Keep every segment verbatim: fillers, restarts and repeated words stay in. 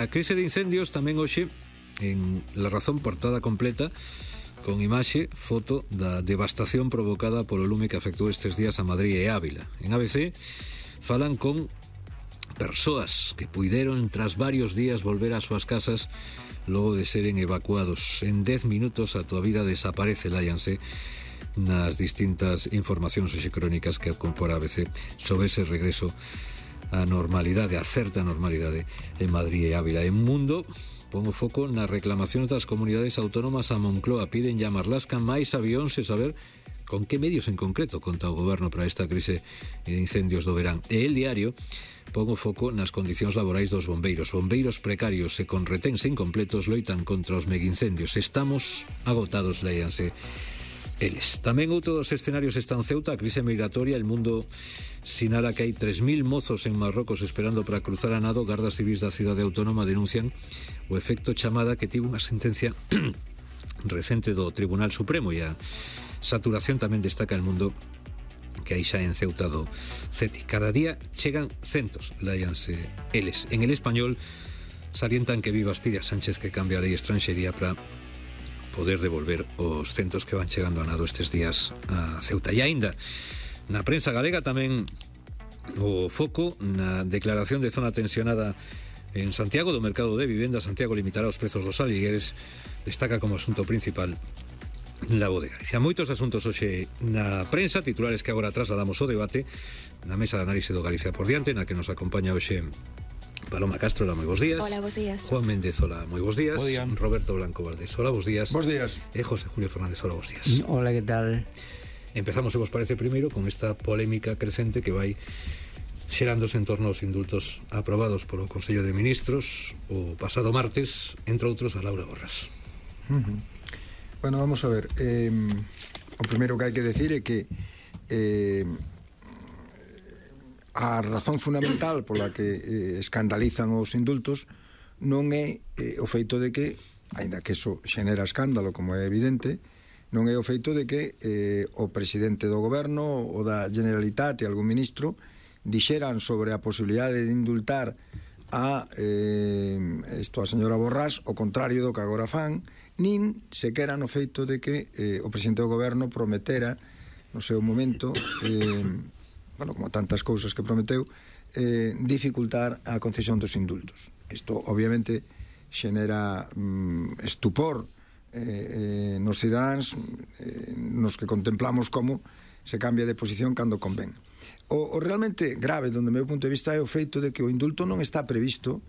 A crise de incendios tamén hoxe en La Razón, portada completa con imaxe, foto da devastación provocada polo lume que afectou estes días a Madrid e Ávila. En A B C falan con persoas que puideron tras varios días volver ás súas casas logo de seren evacuados. En dez minutos a túa vida desaparece, láianse nas distintas informacións e crónicas que compora A B C sobre ese regreso a normalidade, a certa normalidade en Madrid e Ávila. En Mundo pon o foco nas reclamacións das comunidades autónomas a Moncloa. Piden llamar Lasca máis avións e saber con que medios en concreto conta o goberno para esta crise de incendios do verán. E El Diario pon o foco nas condicións laborais dos bombeiros. Bombeiros precarios e con reténs incompletos loitan contra os megaincendios. Estamos agotados, léanse eles. Tamén outro dos escenarios está en Ceuta, a crise migratoria. El Mundo sinala que hai tres mil mozos en Marrocos esperando para cruzar a nado. Gardas civis da cidade autónoma denuncian o efecto chamada que tivo unha sentencia recente do Tribunal Supremo, e a saturación tamén destaca El Mundo que hai xa en Ceuta do C E T I. Cada día chegan centos, láianse eles. En El Español salientan que Vivas pide a Sánchez que cambie a lei extranxería para poder devolver os centos que van chegando a nado estes días a Ceuta. E aínda na prensa galega tamén o foco na declaración de zona tensionada en Santiago do mercado de vivenda. Santiago limitará os prezos dos aligueres, destaca como asunto principal la Voz de Galicia. Moitos asuntos hoxe na prensa, titulares que agora trasladamos o debate na mesa de análise do Galicia por diante, na que nos acompaña hoxe Paloma Castro, hola, moi bons días. Hola, bons días. Juan Méndez, hola, moi bons días. Bo día. Roberto Blanco Valdés, hola, bons días. Bos días. E José Julio Fernández, hola, bons días. Hola, que tal? Empezamos, se vos parece, primeiro con esta polémica crecente que vai xerándose en torno aos indultos aprobados polo Consello de Ministros o pasado martes, entre outros a Laura Borras. Uh-huh. Bueno, vamos a ver, eh, o primeiro que hai que decir é que eh, a razón fundamental pola que eh, escandalizan os indultos non é eh, o feito de que, aínda que eso xenera escándalo, como é evidente, non é o feito de que eh, o presidente do goberno ou da Generalitat e algún ministro dixeran sobre a posibilidade de indultar a eh, isto a señora Borrás, o contrario do que agora fan, nin sequera no feito de que eh, o presidente do goberno prometera no seu momento eh, bueno, como tantas cousas que prometeu, eh, dificultar a concesión dos indultos. Isto obviamente xenera mm, estupor eh, eh, nos cidadáns eh, nos que contemplamos como se cambia de posición cando convén. O, o realmente grave, donde meu punto de vista, é o feito de que o indulto non está previsto,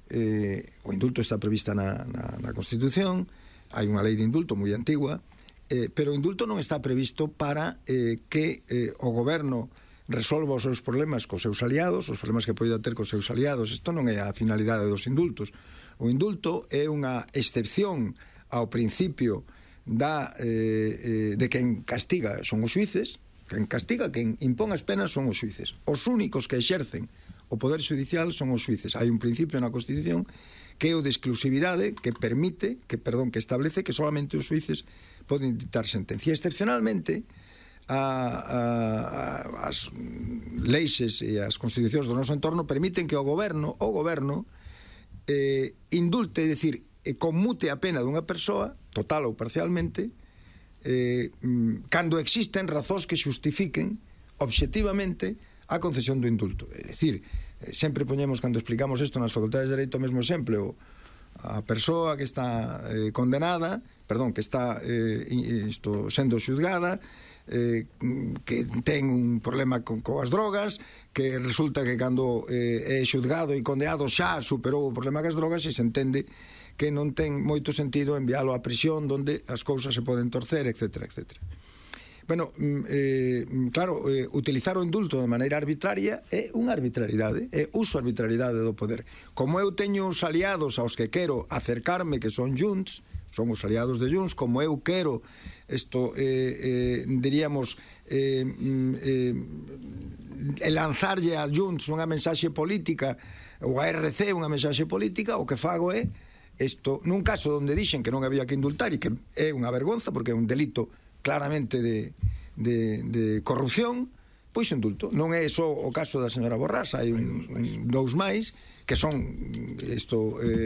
eh, o indulto está prevista na, na, na Constitución, hai unha lei de indulto moi antigua, eh, pero o indulto non está previsto para eh, que eh, o goberno resolva os seus problemas cos seus aliados, os problemas que poida ter cos seus aliados. Isto non é a finalidade dos indultos. O indulto é unha excepción ao principio da, eh, eh, de quen castiga son os xuíces. Quen castiga, quen impón as penas son os xuíces. Os únicos que exercen o poder judicial son os xuíces. Hai un principio na Constitución que é o de exclusividade, que permite, que perdón, que establece que solamente os xuíces poden dictar sentencia. Excepcionalmente, A, a, a, as leixes e as constitucións do noso entorno permiten que o goberno o goberno eh, indulte, é dicir, eh, conmute a pena dunha persoa, total ou parcialmente, eh, cando existen razóns que xustifiquen obxectivamente a concesión do indulto. É dicir, eh, sempre poñemos, cando explicamos isto nas facultades de Dereito, o mesmo exemplo: a persoa que está eh, condenada, perdón, que está eh, isto, sendo xuzgada, eh, que ten un problema con, coas drogas, que resulta que cando eh, é xuzgado e condenado xa superou o problema cas drogas, e se entende que non ten moito sentido enviálo á prisión onde as cousas se poden torcer, etcétera, etcétera. Bueno, eh, claro, eh, utilizar o indulto de maneira arbitraria é unha arbitrariedade, é uso arbitrariedade do poder. Como eu teño os aliados aos que quero acercarme, que son Junts, son os aliados de Junts, como eu quero isto, eh, eh, diríamos, eh, eh, lanzarlle a Junts unha mensaxe política, ou a R C unha mensaxe política, o que fago é isto, nun caso onde dixen que non había que indultar, e que é unha vergonza porque é un delito claramente de, de, de corrupción, pois indulto. Non é só o caso da señora Borrás, hai un, un, dous máis que son isto eh,